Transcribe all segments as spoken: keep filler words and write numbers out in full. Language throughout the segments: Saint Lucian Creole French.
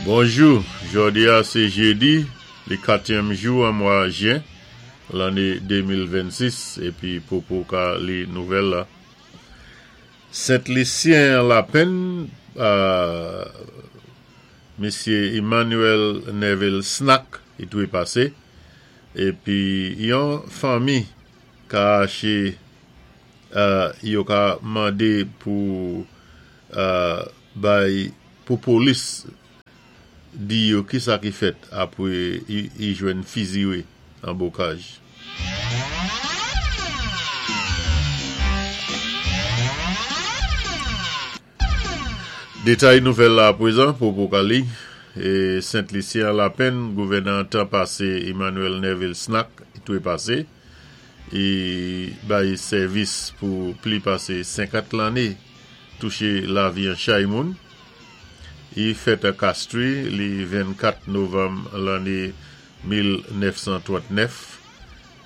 Bonjou, jòdi-a sé jédi, li katyèm jou an mwa jen, lanné de mil vennsis, épi Popo ka li nouvèl la. Sent Lisyen an lapenn, euh, Misyé Emmanuel Neville Snack, i twépasé, épi yon fanmi ka aché, euh, yo ka mandé pou euh, bay pou polis di yo ki sa ki fèt apwé i jwenn fiziwé an Bocage. Détay nouvèl la apwézan, Popo ka li. É Sent Lisyen an lapenn, gouvènan tan pasé Emmanuel Neville Snack i twépasé, i bay sèvis pou pli pasé senkant lanné, touché lavi an chay moun. I fèt an Castries li vennkat novanm lanné mil nèf san trantnèf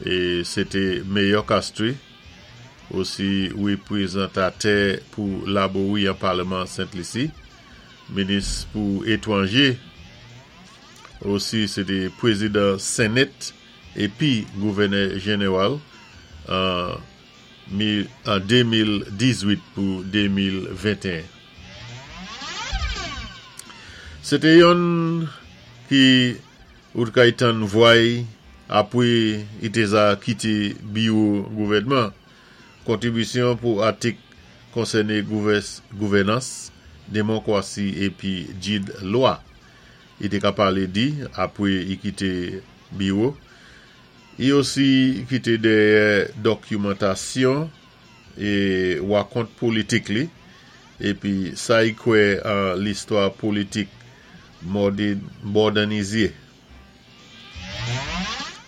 é sé té mayor Castries, osi wépwézantatè pou Laborie an Palman Sent Lisi, minis pou étwanjé, osi sé té pwézidan Senate épi gouvènè jénéwal an de mil dizuit pou de mil venteyen. Sé té yonn ki ou té kay tann vwa-y apwé i té za kité biwo gouvèdman. Kontribisyon pou atik konsèné gouvènans, démonkwasi épi djid lwa. I té ka palé di apwé i kité biwo. I osi kité dèyè dòkimantasyon é wakont politik li, épi sa i kwè an listwa politik mòdènizé.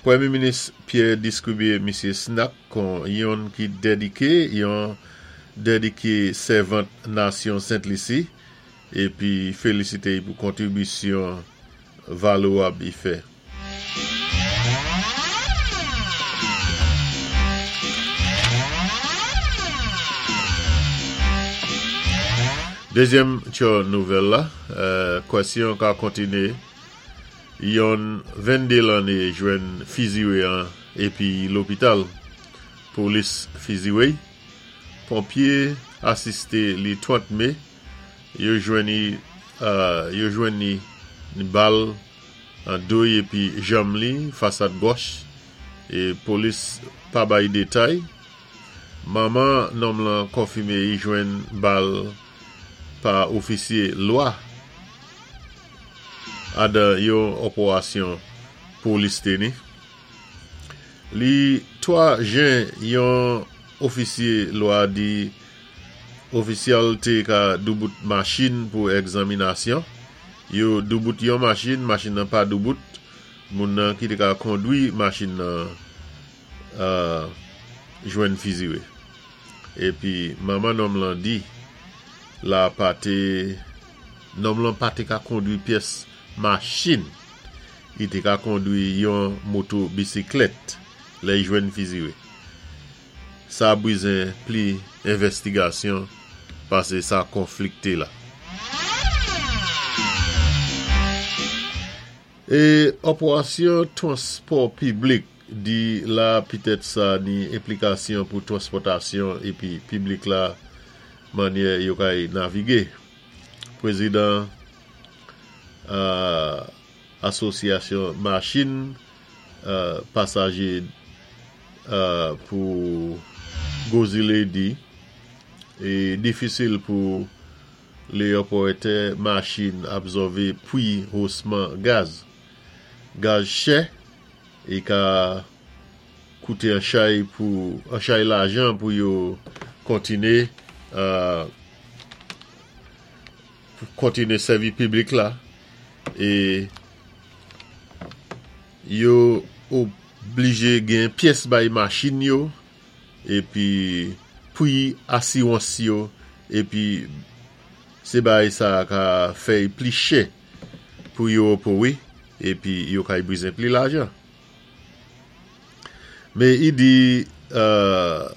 Pwémyé Minis Pierre diskwivé Misyé Snack kon yonn ki dédiké, yon dédiké sèvant nasyon Sent Lisi, épi félisité pou kontribisyon valwab i fè. Dézyèm tyo nouvèl la, kwèsyon ka kontiné, yon venndé lanné jwenn fiziwé an épi lopital. Polis fiziwé, ponpyé asisté li trant mé, yo jwenn yo jwenn ni bal an do-y épi janm li, fasad gòch, é polis pa bay détay. Manman nonm lan konfimé i jwenn bal pa ofisyé lwa adan yon òpérasyon polis té ni. Li twa jen, yon ofisyé lwa di ofisyal té ka doubout machin pou egzaminasyon. Yo doubout yon machin, machin nan pa doubout, moun nan ki té ka kondwi machin nan euh, jwenn fiziwé. Épi manman nonm lan di la pa té nonm lan pa té ka kondwi pyès machin. I té ka kondwi yon moto bisiklèt lè i jwenn fiziwé. Sa bizwen pli envèstigasyon pasé sa konflikté la. É òpérasyon twanspò piblik di la pitèt sa ni enplikasyon pou twanspòtasyon épi piblik la mannyè yo kay navigé. Pwézidan euh, asosyasyon machin euh, pasajé euh, pou Gwo Zilé di é difisil pou lé òpératè machin absòvé pwi osman gaz. Gaz chè é ka kouté an chay pou an chay lajan pou yo kontiné euh, kontiné sèvi piblik la é yo oblijé gen pyès bay machin yo épi pwi asiwans yo épi sé bay sa ka fè pli chè pou yo opéwé épi yo kay bizwen pli lajan. Mé i di euh,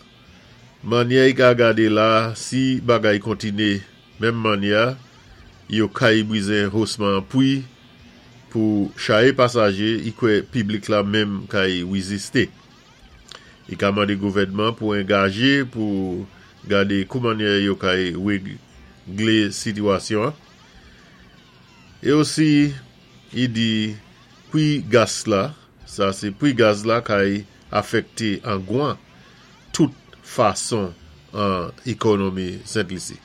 mannyè i ka gadé la, si bagay kontiné menm mannyè, Yo kay bwizé hosman pwi pou chayé pasajé, i kwè piblik la menm kay wizisté. I ka mandé gouvèdman pou engajé pou gadé kou mannyè yo kay wéglé sitiwasyon. É osi, i di pwi gas la, sa sé pwi gaz la kay afèkté an gwan tout fason an ékonomi Sent Lisi.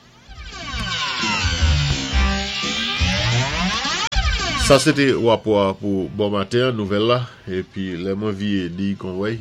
Sa sé té wapò pou bon maten, nouvèl la, épi lè mwen viyé di kon wèy.